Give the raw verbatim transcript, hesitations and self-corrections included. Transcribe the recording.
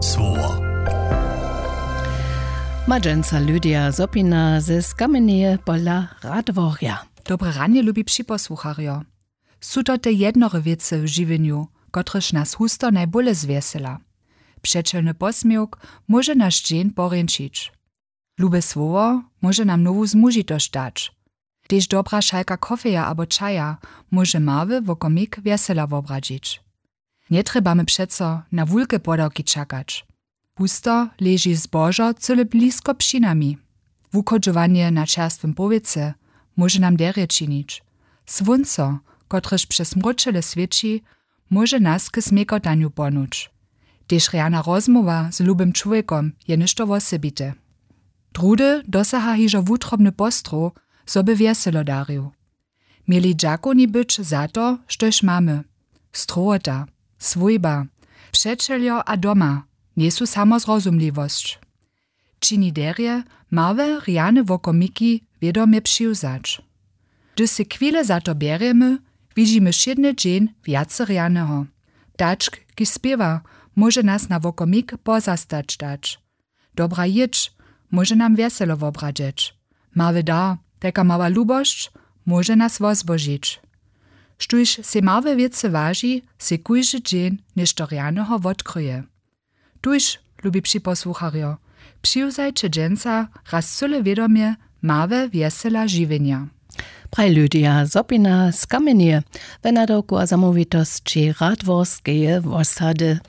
Słowo. Ma dźensa Lydia Zopina ze Skameneje pola Radworja. Dobre ranje, lubi připosłucharjo. Su to te jednore wěcy w žiwjenju, kotrež nas husto najbóle zwjesela? Přećelny posměwk móže naš dźeń porjeńšić. Lube słowo móže nam nowu zmužitosć dać. Tež dobra šalka kofeja abo čaja móže mały wokomik wjesela wobradźić. Njetrjebamy přeco na wulke podawki čakać. Husto leži zbožo cyle blisko při nami. Wuchodźowanje na čerstwym powětře móže nam derje činić. Słónco, kotrež přez mróčele swěći, móže nas k změkotanju pohnuć. Tež rjana rozmołwa z lubym čłowjekom je něšto wosebite. Druhdy dosaha hižo wutrobny postrow, zo by wjeselo darił. Měli dźakowni być za to, štož mamy. Strowota, swójba, přećeljo a doma njejsu samo zrozumliwosć. Čini derje, małe rjane wokomiki wědomje přiwzać. Hdyž sej chwile za to bjerjemy, widźimy wšědny dźeń wjace rjaneho. Ptačk, kiž spěwa, móže nas na wokomik pozastać dać. Dobra jědź móže nam wjeselo wobradźeć. Mały dar, tajka mała lubosć, móže nas wozbožić. Štóž sej małe wěcy waži, sej kóždy dźeń něšto rjaneho wotkryje. Tuž, lubi připosłucharjo, přiwzajće dźensa raz cyle wědomje małe wjesela žiwjenja. Praj Lydia Zopina z Kamenje we nadawku a zamołwitosći Radworskeje wosady.